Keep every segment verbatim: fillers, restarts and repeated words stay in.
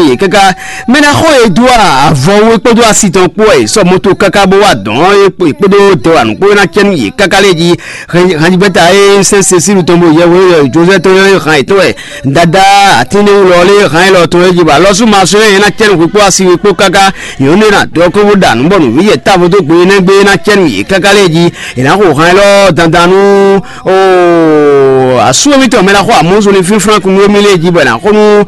yě káká. Mɛ ná xɔ e dó avɔwé kpódó asi tɔn kpó wɛ è sɔ́ moto káká bó wá dɔn é kpódó dɔwanu kpó ná cɛ́ nú yě káká lɛ́ɛ jí. Hanjibɛ́ta e sɛ́n Cecílu tɔn bó yɛhweɖɔ Jozɛ́ tɔn e hán yětɔn wɛ Dadá atínɛ́wúlɔ lé hán élɔ́ tɔn é jí bɔ alɔ́súmasú e ná cɛ́ nú hwi kpó asi we kpó káká yǒ nɔ ná dɔ́ kó bó ɖa nǔ bɔ nǔví yɛ távo dó gbe énɛ́ gbe ná cɛ́ nú yě káká lɛ́ɛ jí. È nǎ xo hán élɔ́ dandan nú asú émítɔn mɛ ná xɔ amɔ̌zɔnlin fínflán kún nú émí lɛ́ɛ jí bɔ è nǎ xo nú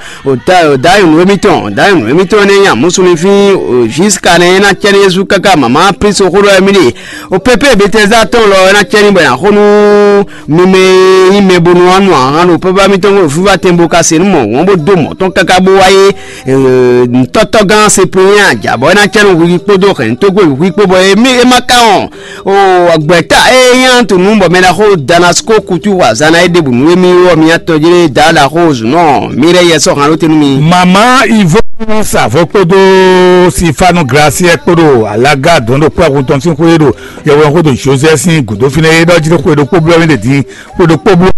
Dayɔnu émítɔn, Dayɔnu émítɔn énɛ́ nyi amǔsúnlífín Ziska nɛ́ é ná cɛ nú Jezu káká mama Plíso xó ɖɔ émí ɖe. O pépé Betɛzda tɔn lɔ é ná cɛ n'i bɔ è nǎ xo nú mi mɛ e nyí mɛ bónú wá nu ahan ɖo pépé émítɔn ɖo fífá tɛn bó ka se nú mɔ̌ wɔn bó dó mɔ̌ tɔn káká bó wá yé. Ntɔ́tɔ́gán Seplínya ajǎ bɔ é ná cɛ nú hwi kpódó hɛ̌ntógbó hwi kpó bɔ é má ka wɔn. O gbɛ̌ta e nyí Antunu bɔ mɛ ɖaxó Damasko kutu xɔ azǎn ná é ɖěbǔ nú émí ɔ́, mi atɔn jlé Daá ɖaxó Zunɔ mi lɛ́ yɛ sɔ́ han ɖó te nú mi. Mama Ivo sa avɔ kpódó Sifanu Graciɛ kpódó alaga dɔn ɖo kpɔ́ hun tɔn sín xwé ɖo yɛhweɖɔ xwé ɖo José sín gǔdo fínɛ́ é ɖɔ jí xwe ɖokpó blɔ́ mì ɖe din xwe ɖokpó blɔ́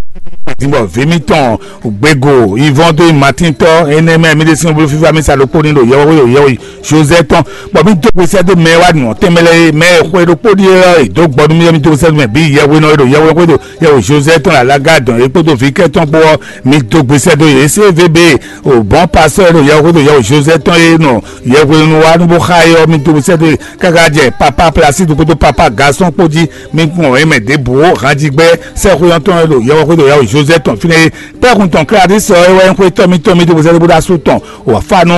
din bɔ vǐ mitɔn gbego Ivɔn dó nyi Matín tɔ́ énɛ́ mɛ mì ɖe sín bló fífá mi sa ɖokpó ní ɖo yɛhweɖɔ yɛhwe José tɔn, bɔ mì dó gbe sɛ́ dó mɛ e wá nɔ tɛnmɛ lɛ́ɛ é, mɛ e xwe ɖokpó ɖíe ɔ́, è dǒ gbɔ nú mì ɔ́, mì dó gbe sɛ́ dó mɛ bǐ yɛhwenɔ e ɖo yɛhweɖɔ xwé ɖo yɛhwe José tɔn ɖo alaga dɔn é kpódó vǐ kɛ́tɔ́ kpó ɔ́, mì dó gbe sɛ́ dó yě. C V B o bɔn pasɔ e ɖo yɛhwe xwé ɖo yɛhwe José tɔn e nɔ yɛhwenɔ wá nú bó xá é ɔ́, mì dó gbe sɛ́ dó yě káká jɛ papa Plasidu kpódó papa Gasɔn kpó jí. Mì gbɔn é mɛ ɖěbǔ ó, hanjigbɛ sɛ́xwé ɔ́ tɔn e ɖo yɛhwe xwé ɖo yɛhwe José tɔn fínɛ́ é. Kpɛ́kun tɔn Klalisɔ e wɛ nyí xwétɔ́ mítɔn mì dó gbe sɛ́ dó bó ɖo asú tɔn. Wǎ fá nú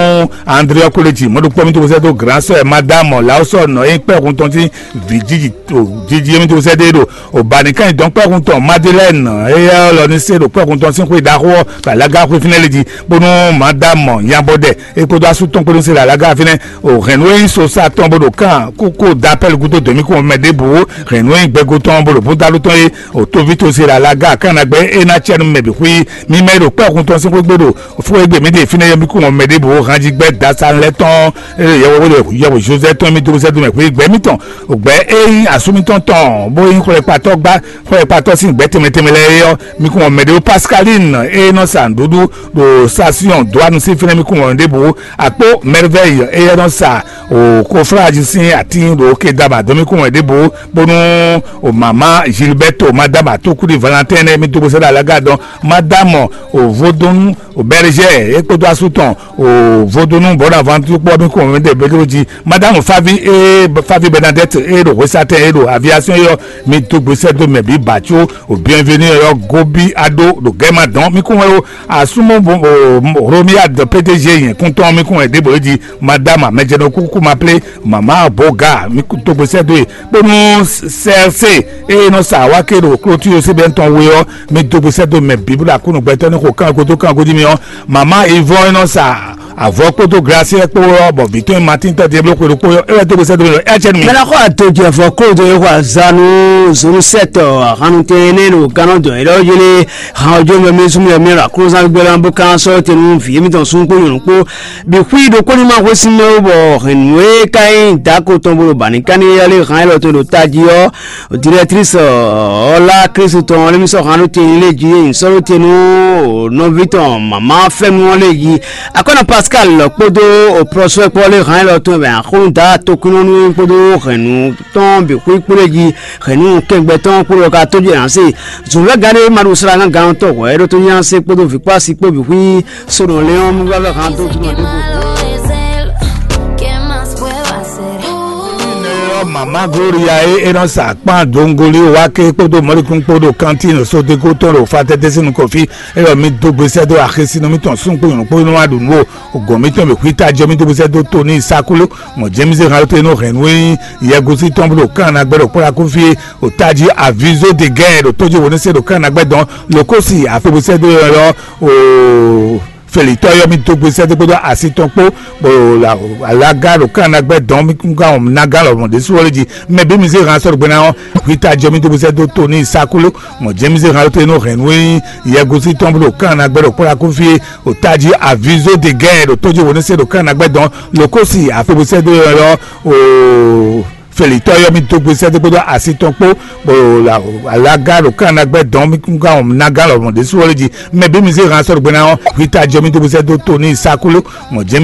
André ɔ́ kó lé jǐ mɔ̌ ɖokpó mì dó sɛ́ dó Glǎnsɔ́ e Madámɔ Lawusɔ nɔ e nyí kpɛ́hun tɔn sín vǐ jiji jiji e mì dó sɛ́ dó é ɖo Obanikán dɔn kpɛ́hun tɔn Madilɛ́ni éyɛ́ lɔ ní se ɖo kpɛ́hun tɔn sín xwé ɖaxó ɔ́ bɔ alága xwé fínɛ́ lé jí, bónú Madámɔ Nyabɔdɛ é kpódó asú tɔn kpó ní se ɖo alága fínɛ́. O hɛ̌nnu e nyí sosa tɔn bó ɖo kán kókó dapɛ́l gúdo dǒmíkún mɛ ɖěbǔ, hɛ̌nnu e nyí gbɛgo tɔn bó ɖo búdálú tɔn é, o tóví to se ɖo alága kán ná gbɛ́ é ná cɛ́ nú mɛ bǐ xwí. Mi mɛ e ɖo kpɛ́hun tɔn sín xwé gbe ɖo Fó e gbe mǐ ɖe fínɛ́ yɔ́míkún ɔ́ mɛ ɖěbǔ hanjí gbɛ́ dasánú lɛ́ɛ tɔn e ɖo yɛhweɖɔ yɛhwe Josɛ́ tɔn mì dó sɛ́ dó mɛ xwé gbɛ́ mǐtɔn. Gbɛ́ e nyí asú mǐtɔn tɔn bó nyí xwlɛkpatɔ́ gbá xwlɛkpatɔ́ sín gbɛ́ tɛnmɛ tɛnmɛ lɛ́ɛ é ɔ́, mi kún mɔ mɛ ɖě Pascaline e nɔ sa nǔɖuɖu ɖo Sasiɔn dó anu sín fínɛ́ mi kún mɔ ɖěbǔ. Akpó Merveille e nɔ sa o kofláji sín atín ɖo Kedama dó mi kún mɔ ɖěbǔ, bónú o mama Gilberto madama Tokudi Valentin nɛ́ mi dó bó sɛ́ ɖo alága dɔn madame o Vodún o Berger é kpódó asú tɔn o Vodún Bonaventure kpó mi kún mɔ mi ɖe Pedro jí. Madame Favi e Favi Bernadette e ɖo hwesatɛn e ɖo aviation e ɔ́, mi dó gbesɛ dó mɛ bǐ bǎ có o bienvenu e ɔ́ gobi aɖó ɖo gɛ́ ma dɔn mi kún wɛ o asúmɔ Romiade P D G yɛn kún tɔn mi kún wɛ ɖěbǔ é jí. Madame amɛjɛnɔ kúkú ma plé mama Boga mi dó gbesɛ dó e bónú C R C e nɔ sa wá ké ɖo klótú Yosebɛn tɔn we ɔ́, mi dó gbesɛ dó mɛ bǐ bó ɖo akúnnu gbɛtɔ́ ní xo kán godó kán godí mi ɔ́, mama Ivɔn e nɔ sa avɔ kpódó glasiɛ kpó ɔ́, bɔ vǐ tɔn e Matín tɔ́ Diablo xwe ɖokpó ɔ́, é wɛ dó gbesɛ dó mi ɔ́, é wɛ cɛ nú mi. Mɛ ná xɔ adodze avɔ kódo e xɔ azanu zonu sɛtɔ ahannutɛn ne ɖo gánɔ dɔn yɛ lɔ yele han ojú mɛ mi súnmọ́ mi ra kúrúsán gbé lɔ bó kán sɔ́ tẹnu vǐ mi tɔn sún kpó nyɔ̀nù kpó bi xwí ɖokpó ní ma xwé sín mɛ wó bɔ hɛn nǔ e ka nyí dǎko tɔn bó ɖo bǎ ní ká ní yɛlé han élɔ́ tó ɖo tají ɔ́. Directrice ɔ́ lá Kristu tɔn ɔ́, émí sɔ́ han ɖó te lé jí, é nyí sɔ́ ɖó te nú nɔví tɔn mama fɛ́nú ɔ́ lé jí. Akɔ́nɔ Pascal kpódó prɔsúwɛ́ kpɔ́ lé han élɔ́ tɔn bɛ axɔ́nú dǎ tokunnɔnú kpódó hɛ̌nnu tɔn bǐ xwí kpó lé jí. Hɛ̌nnu kɛngbɛ tɔn kpó lɔ ka tójú ẹ̀ hán se. Zǔnvɛ́ gán ɖé ma ɖo sra gán gán tɔn hwɛ̌ ɖó tó nyá se kpódó vǐ kpó asi kpó bǐ xwí. Sodɔn lé ɔ́ mú vávɛ han dó jínɔ ɖěvo. Mama Gloria e e nɔ sa kpan dongoli wa ke kpódó mɔlikún kpódó kantin sodeko tɔn ɖo fatɛtɛ sín nukɔn fí. Eyɔ mi dó gbesɛ dó axesi nɔ mitɔn sún kpó nyɔnɔ kpó nɔ wa ɖu nǔ o. Gɔn mitɔn bɛ xwita jɔ mi dó gbesɛ dó to ní sakolo mɔ jɛmisɛ hàn lóte nɔ hɛn nú e nyí yɛgusi tɔn bó ɖo kán na gbɛ ɖo kpɔ́la kó fí o tají avizo de gɛn ɖo tójú wo ní se ɖo kán na gbɛ dɔn. Lokosi afebusɛ dó yɔ o Felitɔ yɔ mi dó gbesɛ dó kpódó asi tɔn kpó bɔ alaga ɖo kán na gbɛ dɔn mi kún ká wɔn na gán lɔ mɔ ɖésú wọlé jí. Mɛ bí mi zé hàn sɔrɔ gbɛna ɔ́, hwita jɔ mi dó gbesɛ dó to ní sakolo mɔ jɛmisɛ hàn lóte nɔ hɛn nú e nyí yɛgusi tɔn bó ɖo kán na gbɛ ɖo kpɔ́la kó fí o tají avizo de gɛn ɖo tójú wo ní se ɖo kán na gbɛ dɔn. Lokosi afebusɛ dó yɔ o Felitɔ yɔ mi dó gbesɛ dó kpódó asi tɔn kpó bɔ alaga ɖo kán na gbɛ dɔn mi kún ká wɔn na gán lɔ mɔ ɖésú wọlé jí. Mɛ bí mi zé hàn sɔrɔ gbɛna ɔ́, hwita jɔ mi dó gbesɛ dó to ní sakolo mɔ jɛ